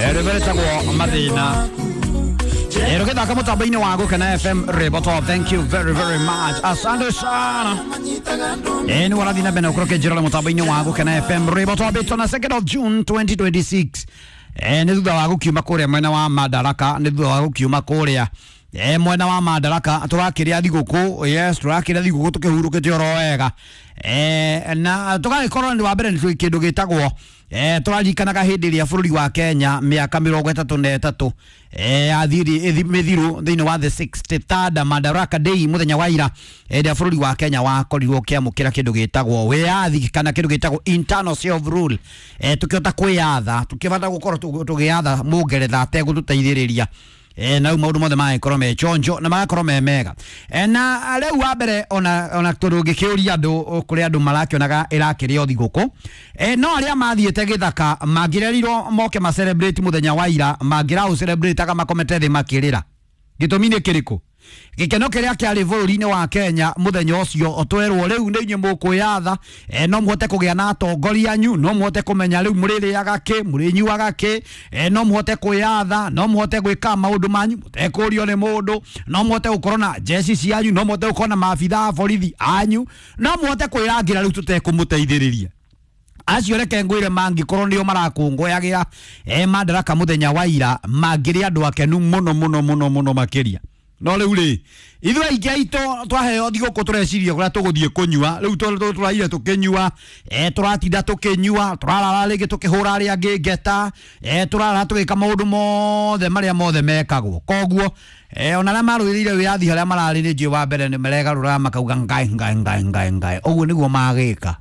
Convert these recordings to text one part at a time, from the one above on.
Rwĩmbo Mathĩna rũgĩthaka mũtambo-inĩ wa Gũkena FM Rĩboto. Thank you very very much, asante sana. Nĩ warathiĩ na mbere na gũkorwo ũkĩnjĩrora mũtambo-inĩ wa Gũkena FM Rĩboto bĩtwo na 2nd of June 2026. Nĩ thutha wa gũkiuma kũrĩa mwena wa Madaraka, nĩ thutha wa gũkiuma kũrĩa mwena wa Madaraka tũrakĩrĩa thigũkũ. Yes, tũrakĩrĩa thigũkũ tũkĩhurũkĩte oro wega, na tũgagĩkorwo nĩ wa mbere nĩ kĩndũ gĩtagwo tũraririkanaga hĩndĩ ĩrĩa bũrũri wa Kenya mĩaka 33 yathiri mĩthiru thĩinĩ wa the 63rd Madaraka Day mũthenya wa ira, ĩrĩa bũrũri wa Kenya wakorirwo ũkĩamũkĩra kĩndũ gĩtagwo wĩyathi kana kĩndũ gĩtagwo internal self rule, tũkĩhota kwĩyatha, tũkĩbata gũkorwo tũgĩatha mũngeretha ategũtũteithĩrĩria, na rĩu maũndũ mothe magagĩkorwo me chonjo na magakorwo me mega, na rĩu wa mbere ona tondũ ngĩkĩũria andũ kũrĩa andũ marakĩonaga ĩrakĩrĩo thigũkũ, no arĩa mathiĩte gĩthaka mangĩrerirwo moke ma celebrate mũthenya wa ira, mangĩraũ celebrate makomete thĩ makĩrĩra. Gĩtũmi nĩ kĩrĩkũ? Gĩkeno kĩrĩa kĩarĩ bũrũri-inĩ wa Kenya mũthenya ũcio twerwo rĩu nĩ inyuĩ mũkwĩyatha, no mũhote kũgĩa na atongoria anyu, no mũhote kũmenya rĩu mũrĩrĩaga kĩ, mũrĩnyuaga kĩ, no mũhote kwĩyatha, no mũhote gwĩka maũndũ manyu mũtekũrio nĩ mũndũ, no mũhote gũkorwo na jeshi cianyu, no mũhote gũkorwo na maabitha a borithi anyu, no mũhote kwĩrangĩra rĩu tũtekũmũteithĩrĩria. Acio reke ngwĩre mangĩkorwo nĩo marakũngũyagĩra Madaraka mũthenya wa ira, mangĩrĩ andũ akenu mũno mũno mũno mũno makĩria. No rĩu rĩ, ithuĩ aingĩ aitũ twaheo thigũkũ tũreciria kũrĩa tũgũthiĩ kũnyua. Rĩu tũraire tũkĩnyua, tũratinda tũkĩnyua, tũrarara rĩngĩ tũkĩhũra arĩa angĩ ngeta, tũrarara tũgĩka maũndũ mothe marĩa mothe mekagwo. Koguo ona arĩa marũĩrĩire wĩyathi harĩa mararĩ nĩ njũĩ wa mbere nĩ maregarũraga makauga ngai ngai ngai ngai ngai, ũguo nĩguo magĩka.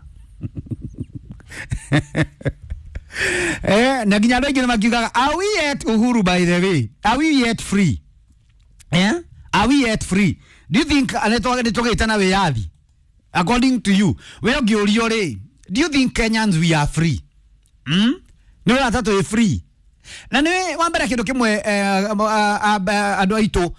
Na nginya andũ aingĩ nĩ makiugaga, are we yet uhuru, by the way? Are we yet free? Yeah? Are we yet free? Do you think nĩ tũgĩte na wĩyathi? According to you, we ũngĩũrio rĩ, do you think Kenyans we are free? Mm? Nĩ ũrata twĩ free? Na nĩ wa mbere kĩndũ kĩmwe, andũ aitũ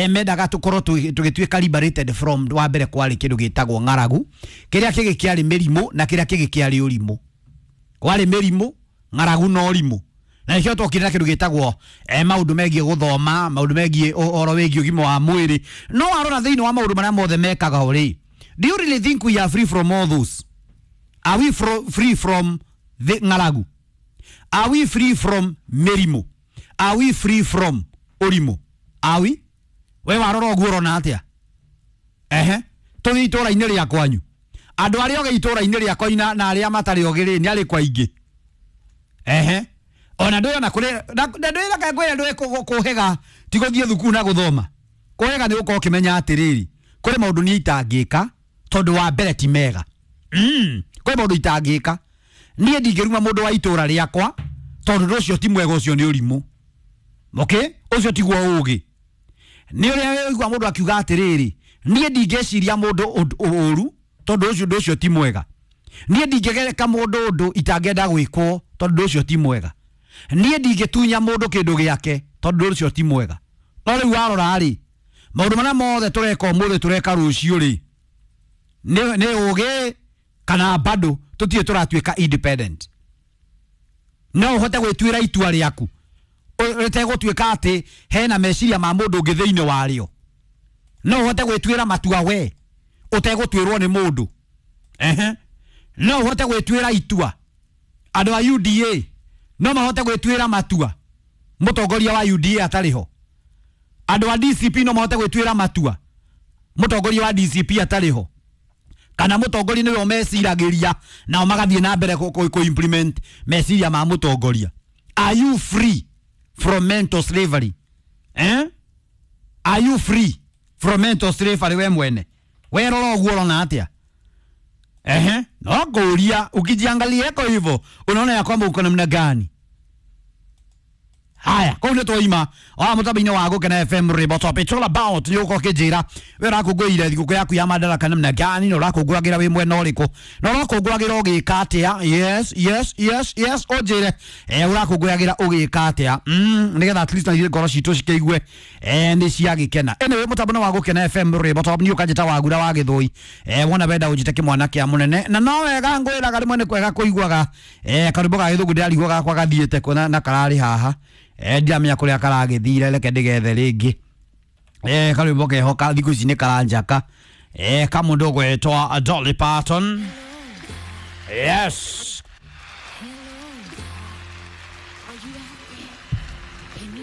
mendaga tũkorwo tũgĩtuĩka liberated from, wa mbere kwarĩ kĩndũ gĩtagwo ng'aragu, kĩrĩa kĩngĩ kĩarĩ mĩrimũ, na kĩrĩa kĩngĩ kĩarĩ ũrimũ. Kwarĩ mĩrimũ, ng'aragu na ũrimũ, na nĩkĩo twokire na kĩndũ gĩtagwo maũndũ megiĩ gũthoma, maũndũ megiĩ ũhoro wĩgiĩ ũgima wa mwĩrĩ. No warora thĩinĩ wa maũndũ marĩa mothe mekaga rĩ, do you really think we are free from all those? Are we free from the ng'aragu? Are we free from mĩrimũ? Are we free from ũrimũ? Are we? We warora ũguo ũrona atĩa? Ehe, tũthiĩ itũũra-inĩ rĩa kwanyu, andũ arĩa ogĩ itũũra-inĩ rĩa kwanyu na arĩa matarĩ ogĩ rĩ, nĩ arĩkũ aingĩ? Ehe, ona ndũĩ ona kũrĩ na ndũĩ, reke ngwĩre, ndũĩ kũhĩga ti gũthiĩ thukuru na gũthoma. Kũhĩga nĩ gũkorwo ũkĩmenya atĩrĩrĩ, kũrĩ maũndũ niĩ itangĩka tondũ wa mbere ti mega. Kũrĩ maũndũ itangĩka niĩ, ndingĩruma mũndũ wa itũũra rĩakwa tondũ ũndũ ũcio ti mwega, ũcio nĩ ũrimũ. Okay, ũcio tiguo ũgĩ. Nĩ ũrĩa ũigua mũndũ akiuga atĩrĩrĩ, niĩ ndingĩciria mũndũ ũru tondũ ũcio ũndũ ũcio ti mwega. Niĩ ndingĩgereka mũndũ ũndũ itangĩenda gwĩkwo tondũ ũndũ ũcio ti mwega. Niĩ ndingĩtunya mũndũ kĩndũ gĩake tondũ ũndũ ũcio ti mwega. No rĩu warora rĩ, maũndũ marĩa mothe tũreka ũmũthĩ, tũreka rũciũ rĩ, nĩ ũgĩ kana bado tũtirĩ tũratuĩka independent? No ũhote gwĩtuĩra itua rĩaku rĩtegũtuĩka atĩ hena meciria ma mũndũ ũngĩ thĩinĩ warĩo? No ũhote gwĩtuĩra matua we ũtegũtuĩrwo nĩ mũndũ? Ehe, no ũhote gwĩtuĩra itua? Andũ a UDA no mahote gwĩtuĩra matua mũtongoria wa UDA atarĩ ho? Andũ a DCP no mahote gwĩtuĩra matua mũtongoria wa DCP atarĩ ho? Kana mũtongoria nĩwe ũmeciragĩria, nao magathiĩ na mbere kũ implement meciria ma mũtongoria? Are you free from mental slavery, eh? Are you free from mental slavery? We mwene werora ũguo ũrona atĩa? Ehe, no ngũria, ukijiangalia eko hivyo unaona ya kwamba uko namna gani? Haya, kũu. Kau nä twaima wa må tambo-inä wa gå kena FM Ribot Top. It's all about nä å korwo kä njä ra we å rakångå ire thigå yaku ya madaraka namna gani na å rakångå agä ra wä mwena å rä kå na å rakångå agä ra å gä ka atä a. Yes, yes, yes, yes, å njä re å rakångå agä ra å gä ka atä a, nä getha at least na ithuĩ ngoro citå cikä igue nä ciagä kena. Anyway, må tambo wa gå kena FM Ribot Top, niä å kanjä ta wagura wa gä thå i wona wenda å njä te kä mwana kä a må nene na no wega ngwä raga rä mwe nä kwega kå iguaga karwä ga gä thå ngå ndä rarigwo gakwa gathiä te kå na kararä haha, ndiramenya kå rä a karagä thire, reke ndä gethe rä ngä. Karwä mbo keho ka thikå ici nä karanjaka ka må ndå gwetwa Dolly Parton. Yes. Are you out